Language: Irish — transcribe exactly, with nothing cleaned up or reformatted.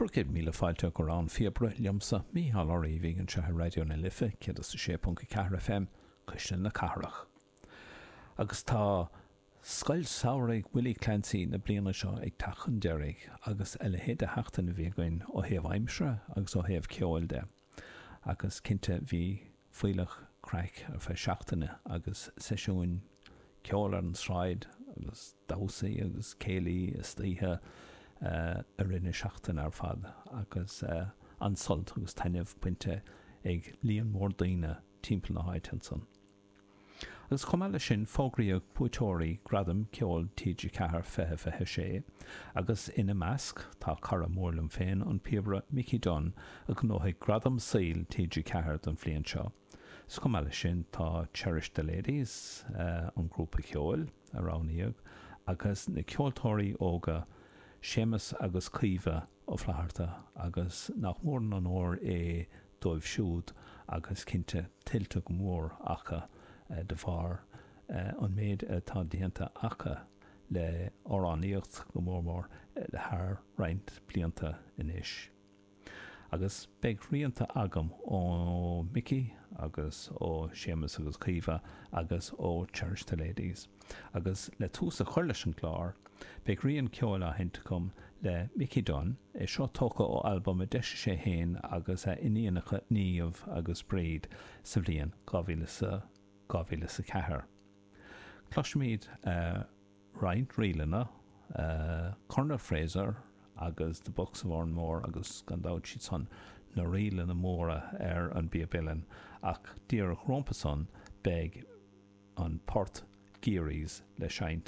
Bhur gcéad míle fáilte go Rann Phíobaire liomsa, Mícheál Ó Riabhaigh, anseo ar Raidió na Life céad is a sé ponc a ceathair F M, Cuisle na Cathrach. Agus tá Scoil Samhraidh Willie Clancy na bliana seo ag teacht chun deiridh, agus a leithéid de sheachtain a bhí againn ó thaobh aimsire agus ó thaobh ceoil de. Agus cinnte bhí fuílleach craic ar feadh seachtaine agus seisiúin ceoil ar an tsráid agus damhsaí agus céilí istoíche i rith na seachtaine ar fad, agus an-sult agus taitneamh bainte ag líon mór daoine timpeall na háite ansan. Agus chomh maith leis sin, fógraíodh buaiteoirí Gradam Ceoil T G ceathair fiche fiche sé, agus ina measc tá cara mór liom féin, an píobaire Mickey Dunne, a ghnóthaigh Gradam Saoil T G ceathair don bhliain seo. 'S chomh maith leis sin tá Cherish the Ladies, an grúpa ceoil a roghnaíodh, agus na ceoltóirí óga Séamus agus Caoimhe Ó Flatharta, agus nach mór an onóir é dóibh siúd, agus cinnte tuillte go mór acu de bharr an méid atá déanta acu le amhránaíocht go mór mór thar roinnt blianta anois. Agus beidh rianta agam ó Mickey agus ó Séamus agus Caoimhe agus ó Cherish the Ladies. Agus le tús a chur leis an gclár, beidh rian ceoil á sheinnt agam le Mickey Dunne, é seo tógtha ó albam a d'eisigh sé féin agus a iníonacha Niamh agus Bríd sa bhliain dhá mhíle dhá mhíle a ceathair. Cloisfimid roinnt ríleanna, Colonel Fraser agus The Bucks of Oranmore, agus gan dabht siad san na ríleanna móra ar an bpíob uilleann, ach díreach rompu san beidh an port Geary's le seinnt.